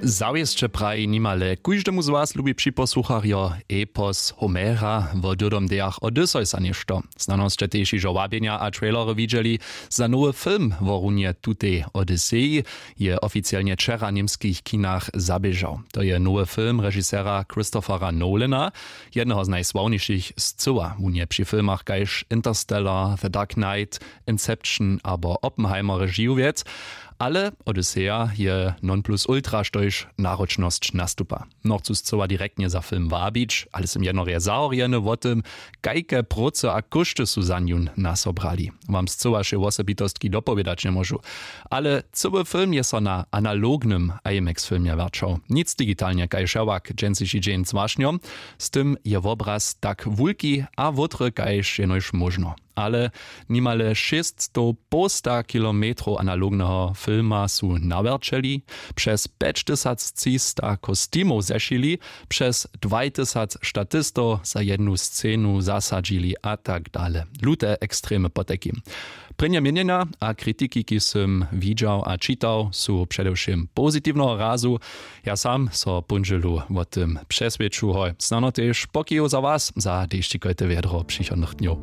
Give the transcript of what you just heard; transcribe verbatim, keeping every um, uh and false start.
Zawěsće praji nimale kóždemu z was lubi připosłucharjo epos homera wo dyrdomdejach odysseysa něšto. Snano sće tež hižo wabjenja a trailery widźeli za nowy film wo runje tutej odysseji. Je oficielnje wčera w němskich kinach zaběžał. To je nowy film režisera christophera nolana, jedneho z najsławnišich scyła wón je při filmach kaž interstellar, the dark knight, inception abo oppenheimer režiwjec. Ale odysseja je non plus ultra štož naročnosć nastupa. Nochcu scyła direktnje za film wabić ale sym jednorje zahorjeny wo tym, kajke prócy a kóšty su za njón nasobrali. Wam scyła wšě wosebitostki dopowědać njemóžu. Ale cyły film je so na analognym imax filmje wjaćał nic digitalnje kaž hewak dźensiši dźeń z wašnjom. Z tym je wobraz tak wulki a wótry kaž jenož móžno. Ale nimale šěsćstow połsta kilometrow analogneho filma su nawjerćeli, přez pjećtysactřista kostimow zešili, přez dwajtysac statistow za jednu scenu zasadźili a tak dale. Lute ekstremy potajkim. Prěnje měnjenja a kritiki kiž sym widźał a čitał su předewšěm pozitiwneho razu. Ja sam so póndźelu wo tym přeswědču hoj snano tež pokijow za was za dešćikojte wjedro přichodnych dnjow.